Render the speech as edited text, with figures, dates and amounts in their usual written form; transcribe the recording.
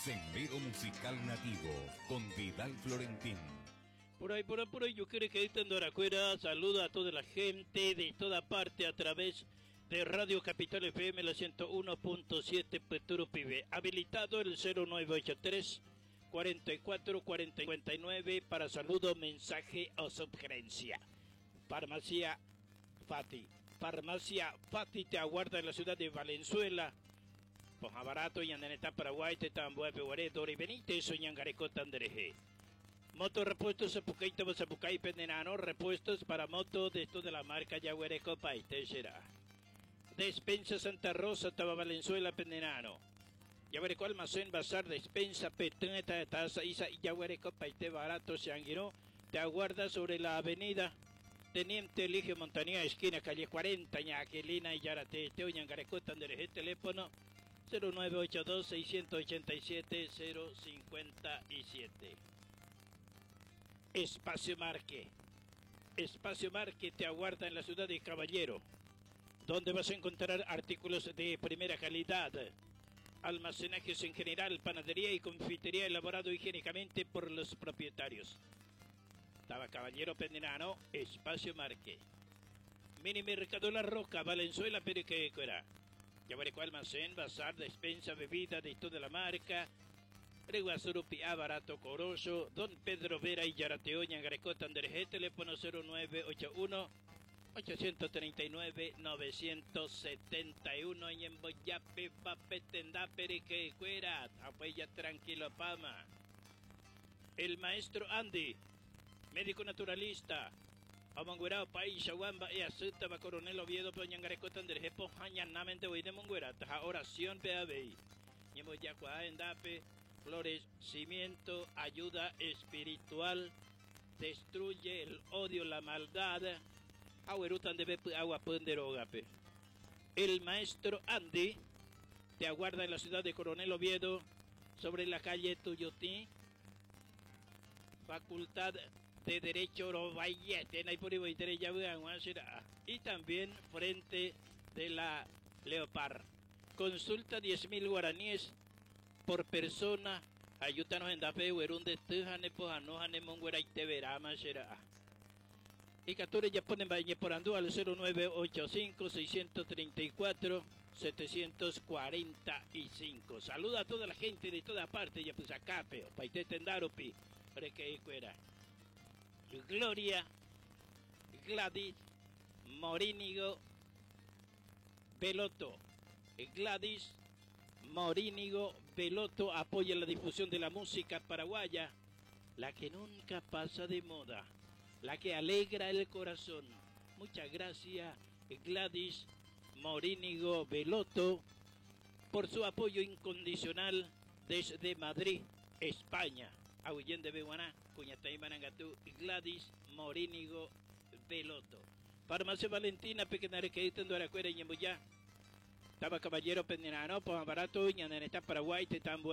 Sendero Musical Nativo con Vidal Florentín. Por ahí, por ahí, por ahí, yo quiero que Doracuera saluda a toda la gente de toda parte a través de Radio Capital FM, la 101.7 Peturo Pibe. Habilitado el 0983 44 49 para saludo, mensaje o sugerencia. Farmacia Fati. Farmacia Fati te aguarda en la ciudad de Valenzuela. Poja barato y andaneta Paraguay, te tambuepe, Dori Benítez, Soñangareco, Tandreje. Moto repuestos Zapucay, Zapucay, Pendenano, repuestos para moto de esto de la marca Yaguareco, Paite será. Despensa Santa Rosa, Taba Valenzuela, Pendenano. Yaguareco Almacén, Bazar, Despensa, Peteneta, Taza, Isa, Yaguareco, Paite Barato, Seanguiró, te aguarda sobre la avenida Teniente Eligio Montanía, esquina calle 40, Ñaquelina y Yarate, Teoñangareco, Tandereje, teléfono 0982 687 057. Espacio Marque. Espacio Marque te aguarda en la ciudad de Caballero, donde vas a encontrar artículos de primera calidad, almacenajes en general, panadería y confitería elaborado higiénicamente por los propietarios. Estaba Caballero Pendenano, Espacio Marque. Mini Mercado La Roca, Valenzuela, Periquecuera. Yabareco Almacén, Bazar, Despensa, Bebida de toda la marca. Reguazurupi, Barato, Corozo, Don Pedro Vera y Yarateo, Ñangareco, Tandereje, teléfono 0981 839 971 y en Boyape, Papetenda, Periquecuera, Apoya tranquilo, Pama. El maestro Andy, médico naturalista, Amanguerao, País, Aguamba, e Azuta, Coronel Oviedo, Peñangareco, Tandereje, Pojañanamente, de Monguera, Taja, oración, PABI. Ñemboyacua, Endape, florecimiento, ayuda espiritual, destruye el odio, la maldad. Agüerutan de agua ponderogape. El maestro Andy te aguarda en la ciudad de Coronel Oviedo, sobre la calle Tuyotí, Facultad de Derecho Robayete, y también frente de la Leopard. Consulta 10.000 guaraníes por persona. Ayúdanos en dape de tujane pojanohane monguera y teverama será. Y Cature ya ponen valle por andú al 0985 634 745. Saluda a toda la gente de toda parte, ya pues acape, paite tendaropi, que era. Gloria Gladys Morínigo Veloto. Gladys Morínigo Veloto apoya la difusión de la música paraguaya, la que nunca pasa de moda, la que alegra el corazón. Muchas gracias, Gladys Morínigo Veloto, por su apoyo incondicional desde Madrid, España. Ahuyen de Beguaná, Cuñatay Marangatú, Gladys Morínigo Veloto. Farmacia Valentina, Pequeñarequeita, Duaracuera y Ñembuyá. Estaba Caballero Pendenano, Poja Barato, Ñananeta, Paraguay, Tetambo.